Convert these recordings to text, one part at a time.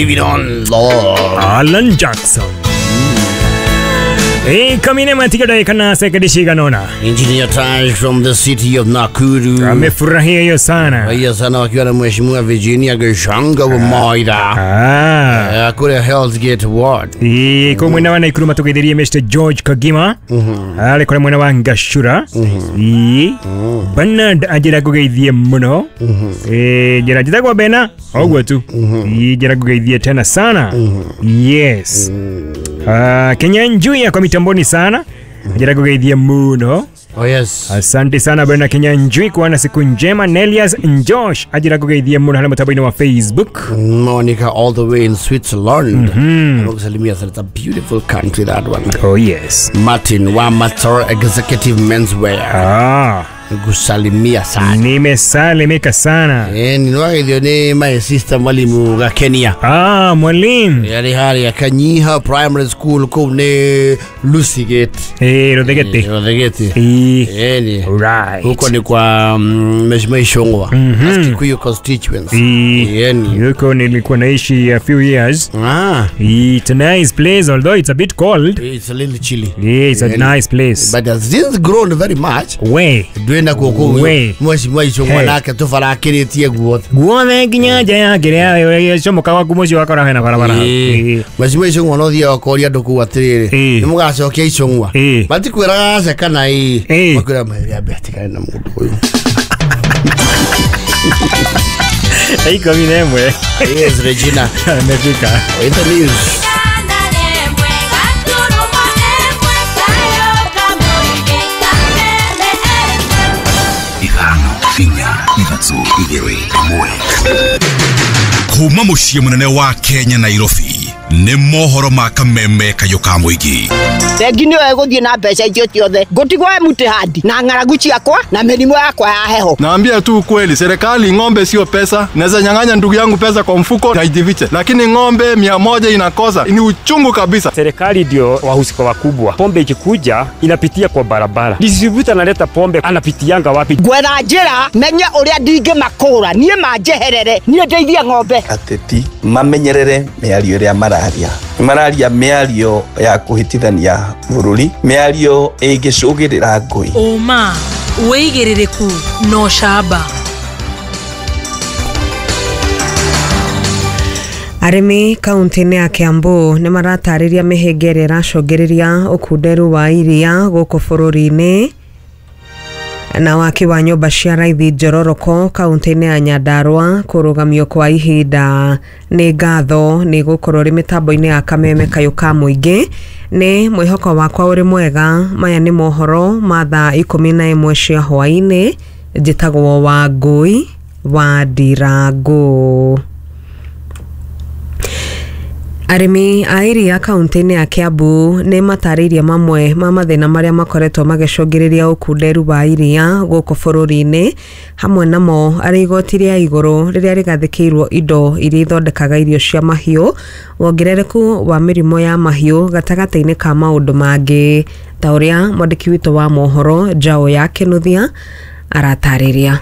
Living on love. Alan Jackson. Kamine matika kana sekendi cigana. Engineer Taj from the city of Nakuru. Amefurahia hiyo sana. Hiyo sana wakiwa na Mheshimiwa Virginia Gashanga wa Maida. Kule Hell's Gate Ward. Kwa mwena wa Nakuru matugetherie Mr. George Kagima. Ale kwa mwena wa Ngashura. Bernard ajira kugeithie muno. Jira jitagwa Bena. Ogwo tu. Jira kugeithie tena sana. Yes. Kenya Njuya kwa mitamboni sana. Jira kugeithie muno. Oh yes. Asante sana bwana Kenya Njui kwa na siku njema. Nelias Njosh ajira kugeithie muno hana mtabaini wa Facebook. Monica all the way in Switzerland. Anakusalimia sana. It's a beautiful country that one. Oh yes. Martin wa Mator Executive Menswear. Kusalimia sana. Nimesalimika sana. Ninawageithio ni my sister mwalimu wa Kenya. Mwalimu. Yari hari ya Kanyiha Primary School kuu ni Lucy Gate. Rothegete. Rothegete. Right. Huko ni kwa Mheshimiwa Ishongwa. Kikuyu constituency. Huko nilikuwa naishi a few years. It's a nice place although it's a bit cold. It's a little chilly. Yeah, it's a nice place. But has since grown very much. We. Ndwenda kuku Mheshimiwa Ishongwa nake tubarakiritie guothe. Guothe nginya nja ya kiria comoka gwaku muciĩ wakora hena barabara. Mheshimiwa Ishongwa no thiaga koria andu kuu atiriri ni mugacokia Ishongwa. Matikwiraga aca kana ii. Makwira maria betikane na mundu uyu. 11. Yes, Regina. Amefika. In the news. Kuma muciĩ mũnene wa Kenya Nairobi nĩ mohoro ma kameme kayũ ka mũingĩ. Bengi nĩyo ĩgũthiĩ na mbeca icio ciothe ngũtigwo empty hand na ng'aragu ciakwa na mĩrimũ yakwa ya heho. Naambia tu ukweli, serikali ng'ombe sio pesa. Naweza nyang'anya ndugu yangu pesa kwa mfuko na ijifiche, lakini ng'ombe 100 inakosa ni uchungu kabisa. Serikali ndio wahusika wakubwa. Pombe ikikuja inapitia kwa barabara, distributor analeta pombe anapitianga wapi? Gwetha njĩra menye ũrĩa ndingĩmakũra niĩ manjeherere niĩ ndeithie ng'ombe. Ateti mamenyerere mĩario ĩrĩa mararia. Mararia mĩario ya kũhĩtithania bũrũri, mĩario ĩngĩcũgĩrĩra ngũi. Ũma, wĩigĩrĩrĩku na ũcamba. Arĩmi kaunti-inĩ ya Kiambu nĩ maratarĩria mĩhĩnga ĩrĩa ĩracũngĩrĩria ũkunderu wa iria gũkũ bũrũri-inĩ na waki wa nyũmba cia raithi Njororoko kaunti-inĩ ya Nyandarua kũrũgamio kwa ihinda. Nĩ ngatho nĩ gũkorwo rĩ mĩtambo-inĩ ya kameme kayũ ka mũingĩ. Nĩ mwĩhoko wakwa ũrĩ mwega. Maya nĩ mohoro ma thaa 11 cia hwaĩ-inĩ. Njĩtagwo Wangũi wa Ndirangu. Arĩmi a iria kaunti-inĩ ya Kiambu nĩ matarĩirie mamwe ma mathĩna marĩa makoretwo magĩcũngĩrĩria ũkunderu wa iria gũkũ bũrũri-inĩ, hamwe namo arĩ igoti rĩa igũrũ rĩrĩa rĩgathĩkĩirwo indo iria ithondekaga irio cia mahiũ, wongerereku wa mĩrimũ ya mahiũ gatagatĩ-inĩ ka maũndũ mangĩ, ta ũrĩa mwandĩki witũ wa mohoro Njaũ ya Kĩnuthia aratarĩria.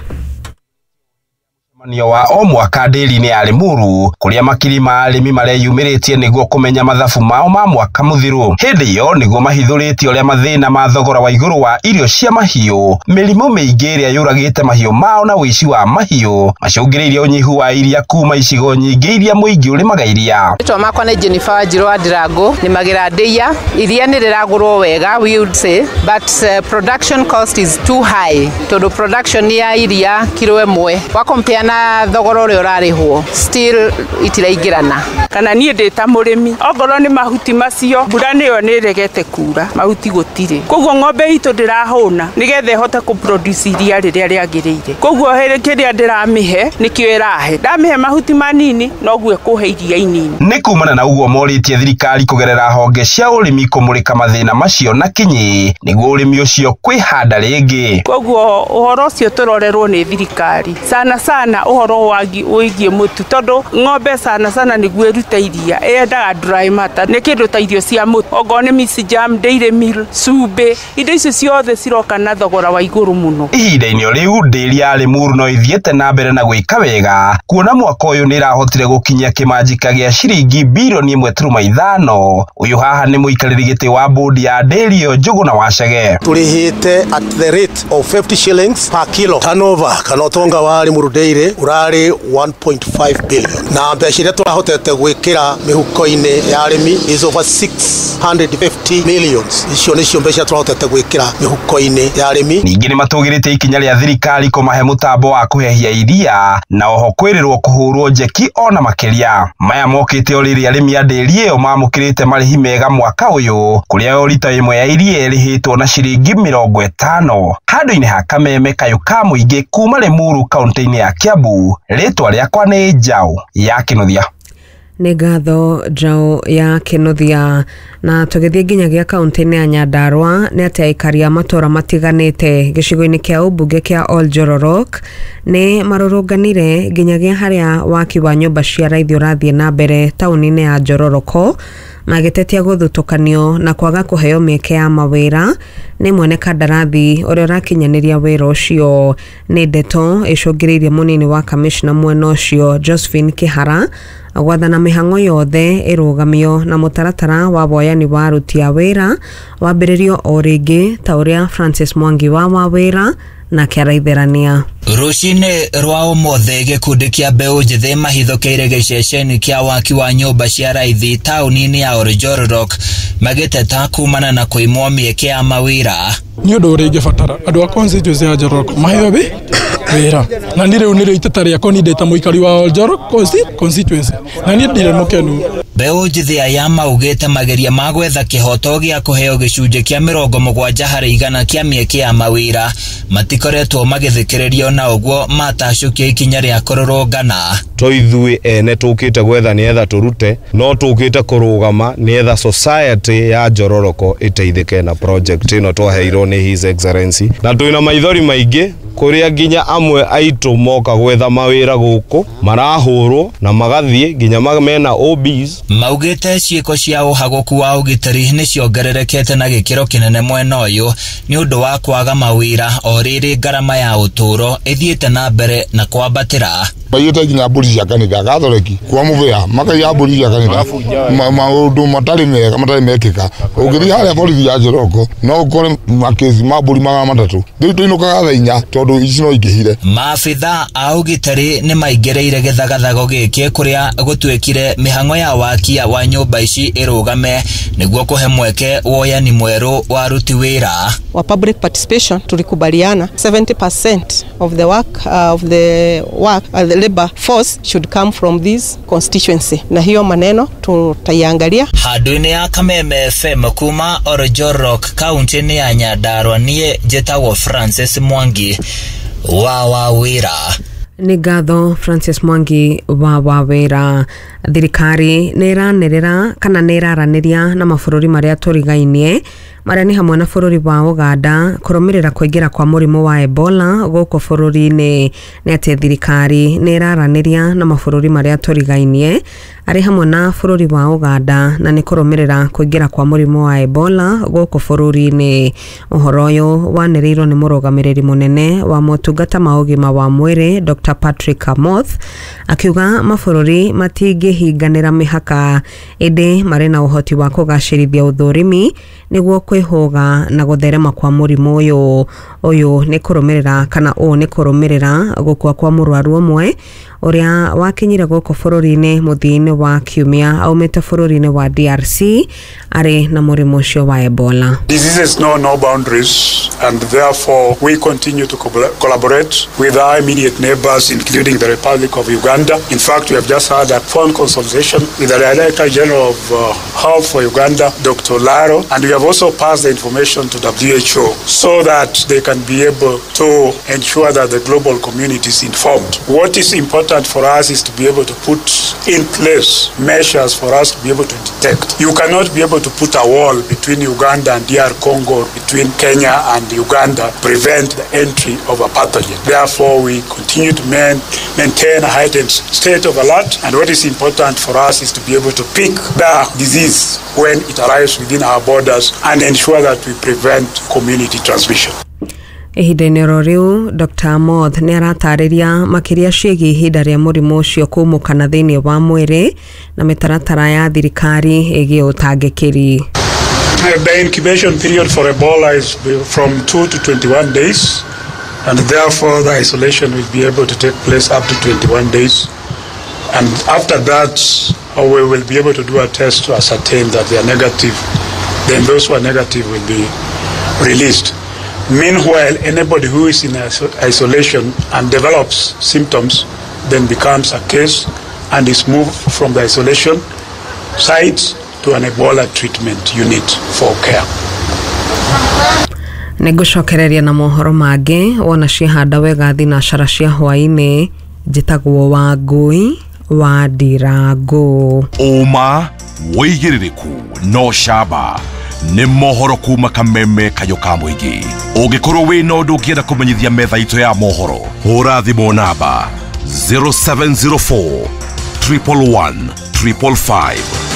Mũcemanio wa o mwaka ndĩri-inĩ ya Limuru kũrĩa makiri ma arĩmi mareyumĩrĩtie nĩguo kũmenya mathabu mao ma mwaka mũthiru. Hĩndĩ ĩyo nĩguo mahithũrĩtie ũrĩa mathĩna ma thogora wa igũrũ wa irio cia mahiũ, mĩrimũ mĩingĩ ĩrĩa yũragĩte mahiũ mao na ũici wa mahiũ macũngĩrĩirie ũnyihu wa iria kuma icigo nyingĩ iria mũingĩ ũrĩmaga iria. Rĩtwa makwa nĩ Jennifer Wanjiru wa Ndirangu, nĩmagĩra ndĩia. Iria nĩ rĩragũrwo wega, we would say, but production cost is too high tondũ production ya iria kiro ĩmwe wa compare na thogora ũrĩa ũrarĩhwo still itiraingĩrana. Kana niĩ ndĩ ta mũrĩmi, ongorwo nĩ mahuti macio, mbura nĩyo nĩ ĩregete kura, mahuti gũtirĩ, koguo ng'ombe itũ ndĩrahũna nĩgetha ĩhote kũ produce iria rĩrĩa rĩagĩrĩire. Koguo kĩrĩa ndĩramĩhe nĩkĩo ĩrahe, ndamĩhe mahuti manini noguo ĩkũhe iria inini. Nĩ kumana na ũguo morĩtie thirikari kũgerera honge cia ũrĩmi kũmũrĩka mathĩna macio na kinyi nĩguo ũrĩmi ũcio kwĩhanda rĩngĩ. Koguo ũhoro ũcio tũrorerwo nĩ thirikari sana sana thĩna ũhoro wĩgiĩ mũtu tondũ ng'ombe sana sana nĩguo ĩrute iria ĩendaga dry matter nĩ kĩndũ ta irio cia mũtu okorwo nĩ misi jam, dairy meal, cumbĩ, indo icio ciothe ciroka na thogora wa igũrũ mũno. Ihinda-inĩ rĩu ndĩri ya Limuru no ithiĩte na mbere na gwĩka wega kuona mwaka ũyũ nĩ ĩrahotire gũkinyia kĩmanjika gĩa ciringi bilioni 1.5. Ũyũ haha nĩ mũikarĩri gĩtĩ wa bodi ya ndĩri ĩyo Njũgũna Wacege. Tũrĩhĩte at the rate of 50 shillings per kilo. Turnover kana ũtonga wa Limuru Dairy ũrarĩ 1.5 billion na mbeca iria tũrahotete gwĩkĩra mĩhuko-inĩ ya arĩmi is over 650 millions. Icio nĩcio mbeca tũrahotete gwĩkĩra mĩhuko-inĩ ya arĩmi. Ningĩ nĩmatũgĩrĩtie ikinya rĩa thirikari kũmahe mũtambo wa kũhehia iria na oho kwĩrĩrwo kũhũrwo njeki ona makĩria. Maya mokĩte o rĩrĩa arĩmi a ndĩri ĩyo mamũkĩrĩte marĩhi mega mwaka ũyũ kũrĩa o rita ĩmwe ya iria ĩrĩhĩtwo na ciringi 50. Handũ-inĩ ha Kameme kayũ ka mũingĩ kuma Limuru kaunti-inĩ ya Kiambu, rĩtwa rĩakwa nĩ Njaũ ya Kĩnuthia. Nĩ ngatho Njaũ ya Kĩnuthia. Na tũgĩthiĩ nginyagia kaunti-inĩ ya Nyandarua nĩ atĩ aikari a matũũra matiganĩte gĩcigo-inĩ kĩa ũmbunge kĩa Oljororok nĩ marũrũnganire nginyagia harĩa waki wa nyũmba cia raithi ũrathiĩ na mbere taũni-inĩ ya Njororoko magĩtetia gũthutũkanio na kwaga kũheo mĩeke ya mawĩra nĩ mwene kandarathi ũrĩa ũrakinyanĩria wĩra ũcio. Nĩ ndeto ĩcũngĩrĩirie mũnini wa kamishna mwena ũcio Josephine Kĩhara gwathana mĩhang'o yothe ĩrũgamio na mũtaratara wa woyani wa aruti a wĩra wambĩrĩrio o rĩngĩ ta ũrĩa Francis Mwangi wa wĩra nake araitherania. Rũcinĩ rwa ũmũthĩ gĩkundi kĩa mbeũ njĩthĩ mahithũkĩire gĩceceni kĩa waki wa nyũmba cia raithi taũni-inĩ ya Oljororok magĩteta kumana na kũimwo mĩeke ya mawĩra. Nĩ ũndũ ũrĩa ingĩbatara andũ a constituency ya Njororok maheo wĩra na niĩ rĩu nĩrĩo iteta rĩakwa niĩ ndĩ ta mũikari wa Oljororok constituency na niĩ ndirĩ mũkenu. Mbeũ njĩthĩ aya maugĩte mageria ma gwetha kĩhoto gĩa kũheo gĩcunjĩ kĩa 70% kĩa mĩeke ya mawĩra matikoretwo magĩthikĩrĩrio na ũguo matacũkia ikinya rĩa kũrũrũngana. To ithuĩ ene tũkĩte gwetha nĩetha tũrute no tũkĩte kũrũgama nĩetha society ya Njororoko ĩteithĩke na project ĩno twaheirwo nĩ His Excellency na twĩna maithori maingĩ kũrĩa nginya amwe aitũ moka gwetha mawĩra gũkũ marahũrwo na magathiĩ nginya mena OBs. Maugĩte ciĩko cia ũhagũku wa ũgitĩri nĩ ciongererekete na gĩkĩro kĩnene mwena ũyũ nĩ ũndũ wa kwaga mawĩra o rĩrĩ ngarama ya ũtũũro ĩthiĩte na mbere na kwambatĩra. Maiyĩte nginya mbũri cia kanitha Gathoreki kwa mũbĩa makaiya mbũri cia kanitha maũndũ matarĩ mega matarĩ mekĩka. Ũngĩthiĩ harĩa borithi ya Njoroko no ũkore makĩci ma mbũri 300 rĩu tũinũkaga thaa 4 tondũ ici no ingĩhire. Maabitha a ũgitĩri nĩ maingĩrĩire gĩthagathago gĩkĩ kũrĩa gũtuĩkire mĩhang'o ya wakia wa nyũmba ici ĩrũgame nĩguo kũhe mweke woyani mwerũ wa aruti wĩra. Wa public participation tulikubaliana 70% of the work the labor force should come from this constituency na hiyo maneno tutaiangalia. Handũ-inĩ ya Kameme FM kuma Oljororok kaunti-inĩ ya Nyandarua niĩ njĩtagwo Francis Mwangi wa wĩra. Nĩ ngatho Francis Mwangi wa wĩra. Thirikari nĩ ĩranĩrĩra kana nĩ ĩraranĩria na mabũrũri marĩa tũrigainie marĩa nĩ hamwe na bũrũri wa Uganda kũrũmĩrĩra kũingĩra kwa mũrimũ wa Ebola gũkũ bũrũri-inĩ. Nĩ atĩ thirikari nĩ ĩraranĩria na mabũrũri marĩa tũrigainie arĩ hamwe na bũrũri wa Uganda na nĩ kũrũmĩrĩra kũingĩra kwa mũrimũ wa Ebola gũkũ bũrũri-inĩ. Ũhoro ũyũ wanĩrĩirwo nĩ mũrũgamĩrĩri mũnene wa motungata ma ũgima wa mwĩrĩ Dr. Patrick Amoth akiuga mabũrũri matingĩhinganĩra mĩhaka ĩndĩ marĩ na ũhoti wa kũgacĩrithia ũthũrimi nĩguo kwĩhũga na gũtherema kwa mũrimũ ũyũ. Ũyũ nĩ kũrũmĩrĩra kana ũũ nĩ kũrũmĩrĩra gũkua kwa mũrwaru ũmwe ũrĩa wakinyire gũkũ bũrũri-inĩ mũthia-inĩ wa kiumia aumĩte bũrũri-inĩ wa DRC arĩ na mũrimũ ũcio wa Ebola. Diseases know no boundaries and therefore we continue to collaborate with our immediate neighbors including the Republic of Uganda. In fact, we have just had a phone consultation with the Director General of Health for Uganda, Dr. Laro, and we have also pass the information to WHO so that they can be able to ensure that the global community is informed. What is important for us is to be able to put in place measures for us to be able to detect. You cannot be able to put a wall between Uganda and DR Congo, or between Kenya and Uganda, prevent the entry of a pathogen. Therefore, we continue to maintain a heightened state of alert, and what is important for us is to be able to pick the disease when it arrives within our borders and ensure that we prevent community transmission. Ihinda-inĩ oro rĩu Dr. Amoth nĩ aratarĩria makĩria ciĩgiĩ ihinda rĩa mũrimũ ũcio kũmũkana thĩinĩ wa mwĩrĩ na mĩtaratara ya thirikari ĩgiĩ ũtangĩkĩri. The incubation period for Ebola is from 2 to 21 days, and therefore the isolation will be able to take place up to 21 days. And after that, we will be able to do a test to ascertain that they are negative. Then those who are negative will be released. Meanwhile, anybody who is in isolation and develops symptoms then becomes a case and is moved from the isolation site to an Ebola treatment unit for care. Nĩngũcokereria na mohoro mangĩ wona ciahanda wega thinacara cia hwaĩ-inĩ. Njĩtagwo Wangũi wa Ndirango. Ũma wĩigĩrĩrĩku no camba nĩ mohoro kuma kameme kayũ ka mũingĩ. Ũngĩkorwo wĩna ũndũ ũngĩenda kũmenyithia metha itũ ya mohoro, hũra thimũ namba 0704 111 555.